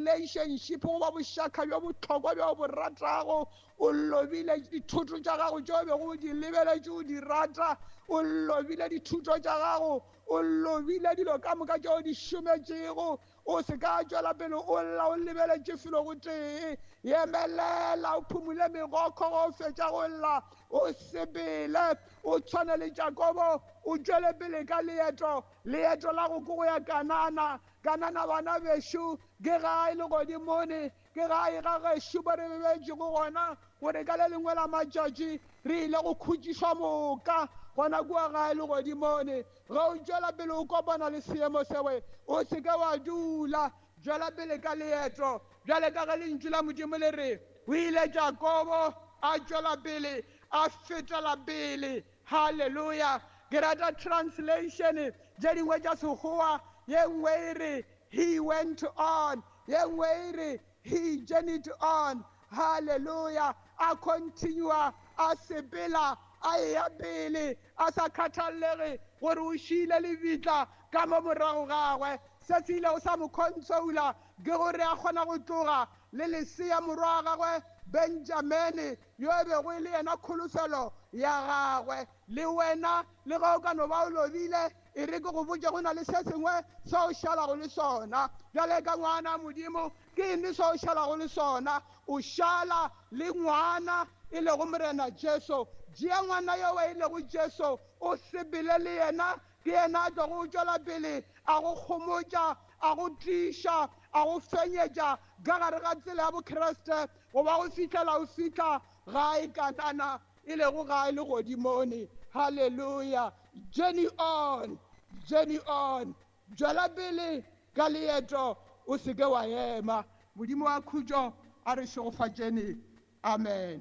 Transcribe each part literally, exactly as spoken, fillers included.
Relationship goba bošaka bjo bohlokwa bjo bo ratago, o lobile dithuto tša gago tšeo bego o di lebeletše o di rata, o lobile dithuto tša gago, o lobile dilo ka moka tšeo di šometšego. O se ka tšwela pele o lla o lebeletše felo go tee. Emelela o phumule megokgo go fetša go lla, o sepele o tshwane le Jakobo, o tšwele pele ka leeto. Leeto la go ko go ya Kanana. Kanana bana bešo ke gae legodimone, ke gae ga gešo ba re bebetšego gona, gore ka le lengwe la matšatši re ile go khutšišwa moka gona kua gae legodimone. Ge o tšwela pele o kopana le seemo sewe, o se ke wa dula, tšwela pele ka leeto. Bjale ka ge lentšu la Modimo le re, o ile Jakobo a tšwela pele, a fetela pele. Halleluja. Ke rata translation tše dingwe tša Sekgowa, ye nngwe e re he went on, ye nngwe e re he journeyed on. Halleluja. A continua, a sepela, a eya pele, a sa kgathallege gore o šile lebitla ka mo morago gagwe. Se se ilego sa mo consola ke gore a kgona go tloga le lesea morwa wa gagwe Benjamene, yo e bego e le yena kholofelo ya gagwe. Le wena le ge o ka no ba o lobile, e re ke go botše go na le se sengwe se o šalago le sona. Bjale ka ngwana Modimo, ke eng se o šalago le sona? O šala le ngwana e lego Morena Jesu. Tšea ngwana yo e lego Jesu, o sepele le yena, ke yena a tlogo go tšwela pele a go kgomotša, a go tiiša, a go fenyetša ka gare ga tsela ya Bokriste, goba go fihlela o fihla gae Kanana, e lego gae legodimone. Halleluja. Journey on, journey on, tšwela pele ka leeto, o se ke wa ema. Modimo wa khutšo a re šegofatšene. Amen.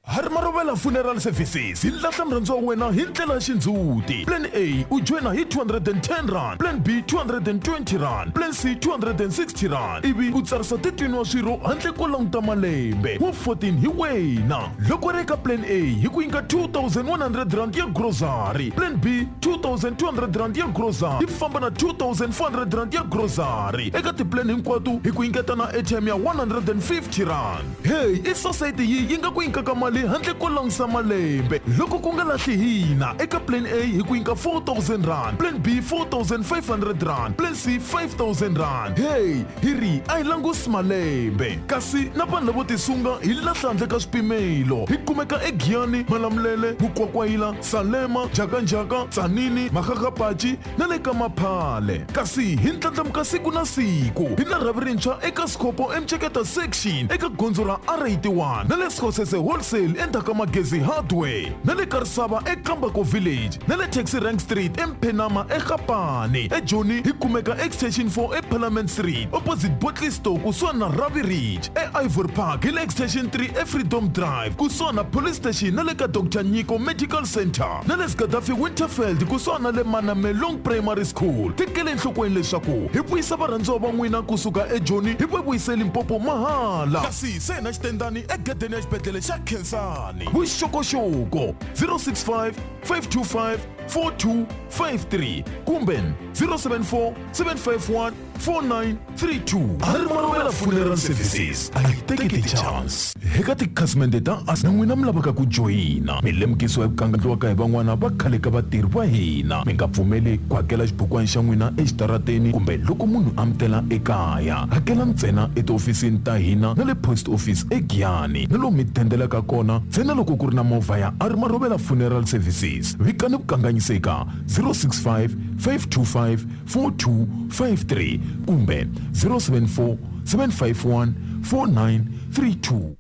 Hari Marobela Funeral Services hi lahla murhandziwa wa wena hi ndlela ya xindzhuti. Plan A u joina hi two hundred and ten rand, Plan B two hundred and twenty rand, Plan C two hundred and sixty rand, ivi u tsarisa thirteen wa swirho handle ko languta malembe wa fourteen hi wena. Loko ri eka Plan A hi ku nyika two thousand one hundred rand ya grocery, Plan B two thousand two hundred rand ya grocery yi famba na two thousand four hundred rand ya grocery. Eka tiplan hinkwato hi ku nyiketa na airtime ya one hundred and fifty rand. Hey, i society yi yi nga ku nyikaka mali handle ko langusa malembe. Loko ku nga lahli hina, eka Plan A hi ku nyika four thousand rand, Plan B four thousand five hundred rand, Plan C five thousand rand. Hey, hi ri a hi langusi malembe. Kasi na vanhu lavo tisunga hi lahla handle ka swipimelo. Hi kumeka eGiyani, Malamulele, Mukwakwayila, Salema, Njhakanjhaka, Tzaneen, Makgakgapatši na le ka Maphale. Kasi hi ndlandlamuka siku na siku. Hi na rhavi rintshwa eka Sekgopo eMtsheketa section eka gondzo ra R eighty-one na le Sekgosese Wholesale endzhaku ka Magezi Hardware na le Karisava eKambako Village na le Taxi Rank Street eMphenama eGapane. EJoni hi kumeka Extension four eParliament Street opposite Bottle Store kusuhani na Ravi Ridge. E Ivory Park hi le Extension three eFreedom Drive kusuhani na Police Station na le ka Doctor Nyiko Medical Center na le Gaddafi Winterfeld kusuhani na le Manamelong Primary School. Tekele enhlokweni leswaku hi vuyisa varhandziwa va n'wina kusuka eJoni hi va vuyise Limpopo mahala. Kasi se na xitendani egedeni ya xibedhlele xa Khensani. Vuxokoxoko zero six five five two five four two five three kumbe zero seven four seven five one four nine three two. Hari Marobela Funeral Services a hi teki ti-chance. Eka tikhasimende ta us na n'wina mi lavaka ku joyina, mi lemukisiwa hi ku kangandliwaka hi van'wana va khale ka vatirhi va hina. Mi nga pfumeli ku hakela xibukwana xa n'wina exitarateni kumbe loko munhu a mi tela ekaya. Hakela ntsena etihofisini ta hina na le post office eGiyani na lomu mi dendelaka kona ntsena loko ku ri na movha ya Ari Marobela Funeral Services. Vikani vukanganyisi eka zero six five five two five four two five three kumbe zero seven four seven five one four nine three two.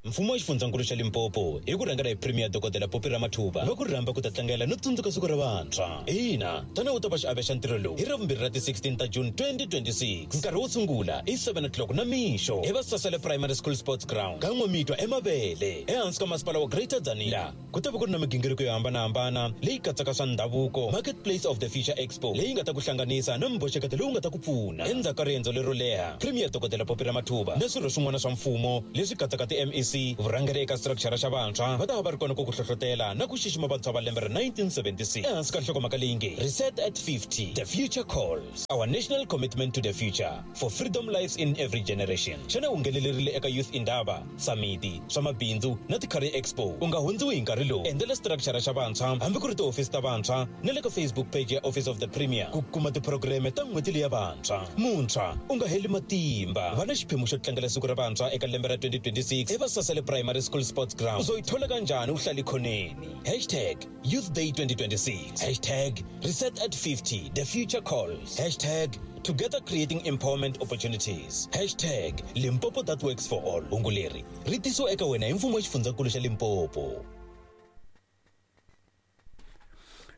Mfumo wa xifundzankulu xa Limpopo hi ku rhangela hi Premier Dokodela Phophi Ramathuba va ku rhamba ku ta tlangela no tsundzuka siku ra vantshwa. Ina, tani u ta va xiave xa ntirho lowu hi Ravumbirhi ra ti sixteen ta June twenty twenty-six. Nkarhi wo sungula i seven o'clock na mixo hi Vasasele Primary School Sports Ground ka N'wamitwa eMabele ehansi ka masipala wa Greater Tzaneen. Ku ta va ku ri na migingiriko yo hambanahambana leyi katsaka swa ndhavuko, Marketplace of the Future Expo leyi nga ta ku hlanganisa na mboxeketo lowu nga ta ku pfuna. Endzhaku ka riendzo lero leha, Premier Dokodela Phophi Ramathuba na swirho swin'wana swa mfumo leswi katsaka ti M E C, C vurhangeri eka structure xa vantshwa va ta va va ri kona ku ku hlohlotela na ku xixima vantshwa va lembe ra nineteen seventy-six ehansi ka nhlokomhaka leyi nge Reset at fifty, the future calls, our national commitment to the future for freedom lives in every generation. Xana u nghenelerile eka Youth Indaba, Samiti, swa mabindzu na ti-Career Expo? U nga hundziwi hi nkarhi lowu. Endzela structure xa vantshwa hambi ku ri tihofisi ta vantshwa na le ka Facebook page ya Office of the Premier ku kuma tiphurogireme ta n'hweti leya vantshwa. Muntshwa u nga heli matimba, va na xiphemu xo tlangela siku ra vantshwa eka lembe ra twenty twenty-six eVasasele Primary School Sports Ground. Uzoyithola kanjani uhlala ikhoneni? Hashtag Youth Day twenty twenty-six, hashtag Reset at fifty, the future calls, hashtag Together creating empowerment opportunities, hashtag Limpopo that works for all. Hungu leri ri tisiwa eka wena hi mfumo wa xifundzankulu xa Limpopo.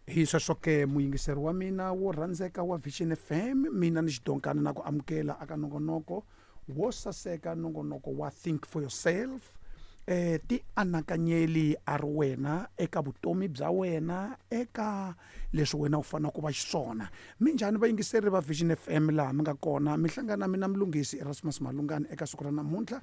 Hi sweswo ke muyingiseri wa mina wo rhandzeka wa Vision F M, mina ni xidonkana na ku amukela aka nongonoko wo saseka, nongonoko wa Think for Yourself. Eh ti anakanyeli a ri wena eka vutomi bya wena, eka leswi wena u fanele ku va xiswona. Minjhani vayingiseri va Vision F M laha mi nga kona? Mi hlangana mina Mlungisi Erasmus Malungani eka siku ra namuntlha,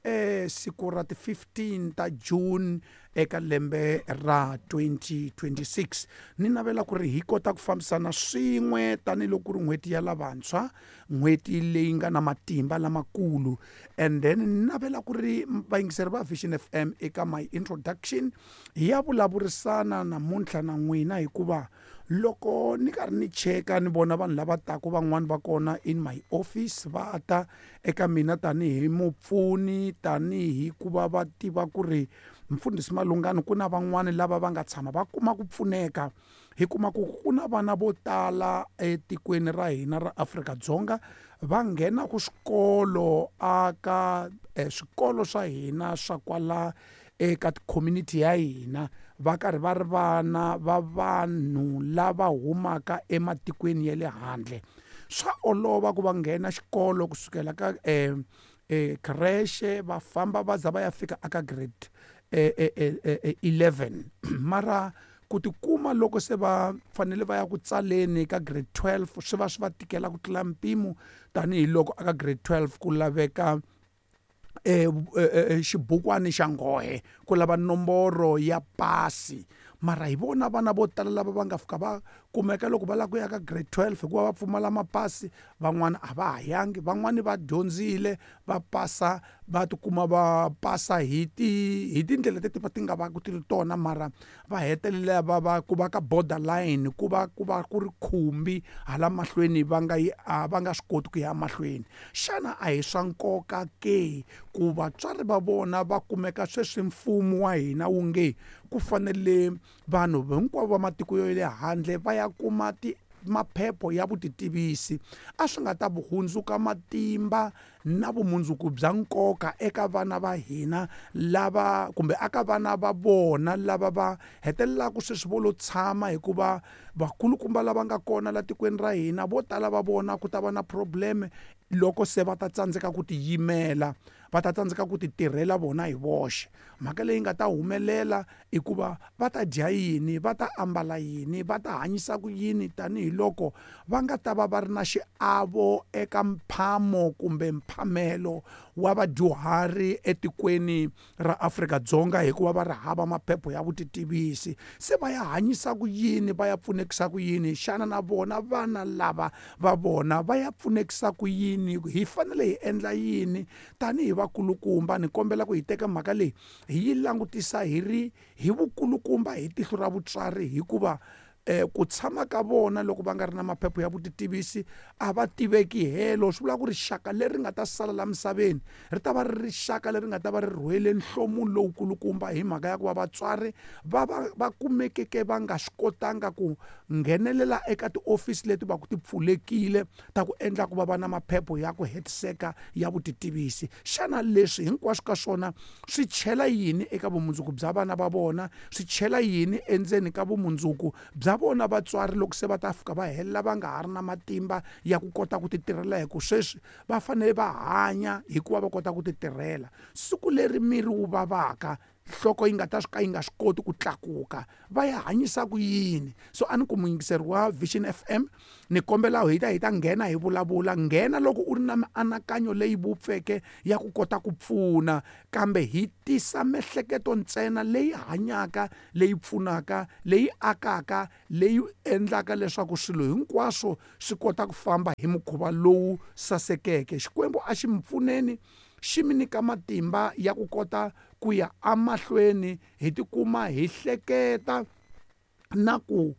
eh siku ra ti fifteen ta June eka lembe ra twenty twenty-six. Ni navela ku ri hi kota ku fambisana swin'we tanihiloko ku ri n'hweti ya lavantshwa, n'hweti leyi nga na matimba lamakulu. And then ni navela ku ri vayingiseri va Vision F M eka my introduction hi ya vulavurisana namuntlha na n'wina, hikuva loko ni karhi ni cheka ni vona vanhu lava taka van'wani va kona in my office va ta eka mina tanihi mupfuni, tanihi ku va va tiva ku ri Mfundhisi Malungani ku na van'wani lava va nga tshama va kuma ku pfuneka. Hi kuma ku ku na vana vo tala etikweni ra hina ra Afrika-Dzonga va nghena ku swikolo aka swikolo swa hina swa kwala eka community ya hina, va karhi va ri vana va vanhu lava humaka ematikweni ya le handle. Swa olova ku va nghena xikolo kusukela ka eh, eh, creche va famba va za va ya fika aka grade eh, eh, eh, eleven. Mara ku tikuma loko se va fanele va ya ku tsaleni ka grade twelve swi va swi va tikela ku tlula mpimo, tanihiloko aka grade twelve ku laveka eh xibukwani xa nghohe, ku lava nomboro ya pasi. Mara hi vona vana vo tala lava va nga fika va kumeka loko va lava ku ya ka grade twelve hikuva va pfumala mapasi, van'wana a va ha yangi, van'wani va dyondzile va pasa, va tikuma va pasa hi ti hi tindlela leti va ti nga va ku ti ri tona, mara va hetelela va va ku va ka borderline, ku va ku va ku ri khumbi hala mahlweni, va nga yi va nga swi koti ku ya mahlweni. Xana a hi swa nkoka ke ku vatswari va vona va kumeka sweswi mfumo wa hina wu nge ku fanele vanhu hinkwavo va matiko ya le handle va ya kuma ti maphepho ya vutitivisi? A swi nga ta hundzuka matimba na vumundzuku bya nkoka eka vana va hina lava kumbe aka vana va vona lava va hetelelaka sweswi vo lo tshama, hikuva vakulukumba lava nga kona la tikweni ra hina vo tala va vona ku ta va na problem loko se va ta tsandzeka ku tiyimela, va ta tsandzeka ku ti tirhela vona hi voxe. Mhaka leyi nga ta humelela i ku va va ta dya yini, va ta ambala yini, va ta hanyisa ku yini, tanihiloko va nga ta va va ri na xiavo eka mphamo kumbe mphamelo wa vadyuhari etikweni ra Afrika-Dzonga, hikuva va ri hava maphepho ya vutitivisi. Se va ya hanyisa ku yini, va ya pfunekisa ku yini? Xana na vona vana lava va vona va ya pfunekisa ku yini? Hi fanele hi endla yini tanihi vakulukumba? Ni kombela ku hi teka mhaka leyi hi yi langutisa hi ri hi vukulukumba, hi tihlo ra vutswari, hikuva eh ku tshama ka vona loko va nga ri na maphepho ya vutitivisi a va tiveki helo. Swi vula ku rixaka leri nga ta sala la misaveni ri ta va ri rixaka leri nga ta va ri rhwele nhlomulo lowukulukumba, hi mhaka ya ku va vatswari va va va kumekeke va nga swi kotanga ku nghenelela eka tiofisi leti va ku ti pfulekile ta ku endla ku va va na maphepho ya ku hetiseka ya vutitivisi. Xana leswi hinkwaswo ka swona swi chela yini eka vumundzuku bya vana va vona? Swi chela yini endzeni ka vumundzuku bya vona vatswari loko se va ta fika va helela va nga ha ri na matimba ya ku kota ku ti tirhela? Hi ku sweswi va fanele va hanya hikuva va kota ku ti tirhela. Siku leri miri wu vavaka nhloko yi nga ta ka yi nga swi koti ku tlakuka, va ya hanyisa ku yini? So a ni ku muyingiseri wa Vision F M, ni kombela hi ta hi ta nghena hi vulavula. Nghena loko u ri na mianakanyo leyi vupfeke ya ku kota ku pfuna, kambe hi tisa miehleketo ntsena leyi hanyaka, leyi pfunaka, leyi akaka, leyi endlaka leswaku swilo hinkwaswo swi kota ku famba hi mukhuva lowu sasekeke. Xikwembu a xi mi pfuneni, xi mi nyika matimba ya ku kota ku ya amahlweni, hi tikuma hi hleketa na ku